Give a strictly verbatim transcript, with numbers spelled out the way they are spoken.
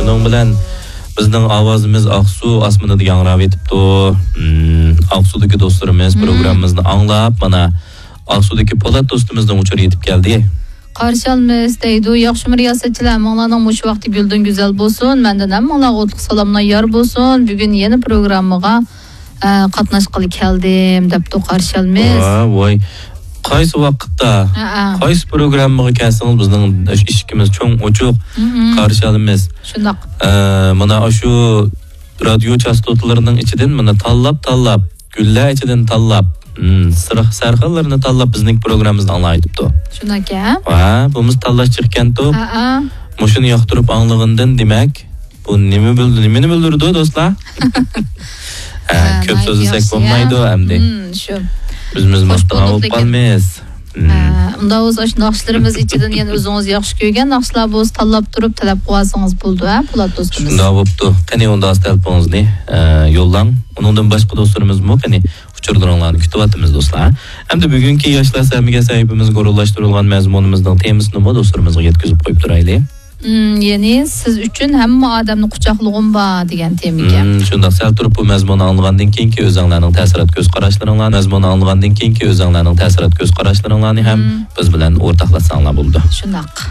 شۇنىڭ بىلەن بىزنىڭ ئاۋازىمىز ئاقسۇ ئاسمىنىدا ياڭراۋېتىپتۇ. مم، ئاقسۇدىكى دوستلىرىمىز مم. پروگراممىمىزنى ئاڭلاپ، مانا ئاقسۇدىكى پولات دوستىمىزنىڭ ئۇچۇرى يېتىپ كەلدى. قارشى ئالىمىز دەيدۇ، ياخشىمۇ رىياسەتچىلەر، ھەممىڭلارنىڭ مۇشۇ ۋاقتى گۈلدىن گۈزەل بولسۇن. مەندىن ھەممىڭلارغا ئوتلۇق سالاملار يار بولسۇن. بۈگۈن يەنە پروگراممىغا، ئە، قاتناشقىلى كەلدىم، دەپتۇ قارشى ئالىمىز. ۋاي، ۋاي. قايسى ۋاقىتتا، ھەئە. قايسى پروگراممىغا كەلسىڭىز، بىزنىڭ ئىشىكىمىز چوڭ ئوچۇق، مم. قارشى ئالىمىز. شۇنداق. ئە، مانا شۇ رادىيو چاستوتىلىرىنىڭ ئىچىدىن مانا تاللاپ، تاللاپ، گۈللەر ئىچىدىن تاللاپ، مم، سىرخ-، سەرخىللىرىنى تاللاپ بىزنىڭ پروگراممىمىزنى ئاڭلايتىپتۇ. شۇنداكەن. ۋە بۇمۇز تاللاش چىقكەنتۇ. ھەئە. مۇشۇنى ياقتۇرۇپ ئاڭلىغىندىن دېمەك، بۇ نېمە بىل-، نېمىنى بىلدۈرىدۇ، دوستلار؟ ھە، ھە، كۆپ ناھايىتى سۆزلىسەك ياخشى، بولمايدۇ ھە؟ ئەمدى. مم، شۇ. ئۆزىمىز خوش ماختىغان بولدۇق بولۇپ لېكىن. قالمايمىز. مم. ھە، ئۇنداق بولسا، ئاشۇ ناخشىلىرىمىز ئىچىدىن يەنە ئۆزىڭىز ياخشى كۆرگەن ناخشىلار بولسا، تاللاپ تۇرۇپ تەلەپ قىلىۋالسىڭىز بولىدۇ، ھە، پولات دوستىمىز؟ شۇنداق بوپتۇ. قېنى، ئۇنداق تەلىپىڭىزنى، ئە، يوللاڭ. ئۇنىڭدىن باشقا دوستلىرىمىزمۇ، قېنى، ئۇچۇرلىرىڭلارنى كۈتۈۋاتىمىز، دوستلار. ئەمدى بۈگۈنكى ياشلار سەھىپىمىزگە ئورۇنلاشتۇرۇلغان مەزمۇنىمىزنىڭ تېمىسىنىمۇ دوستلىرىمىزغا يەتكۈزۈپ قويۇپ تۇرايلى. مم، يەنى سىز ئۈچۈن ھەممە ئادەمنى قۇچاقلىغۇم بار دېگەن تېمىكەن. مم، شۇنداق، سەل تۇرۇپ بۇ مەزمۇننى ئاڭلىغاندىن كېيىنكى ئۆزەڭلارنىڭ تەسىرات كۆز قاراشلىرىڭلار، مەزمۇننى ئاڭلىغاندىن كېيىنكى ئۆزەڭلارنىڭ تەسىرات كۆز قاراشلىرىڭلارنى ھەم مم. بىز بىلەن ئورتاقلاشساڭلار بولىدۇ. شۇنداق.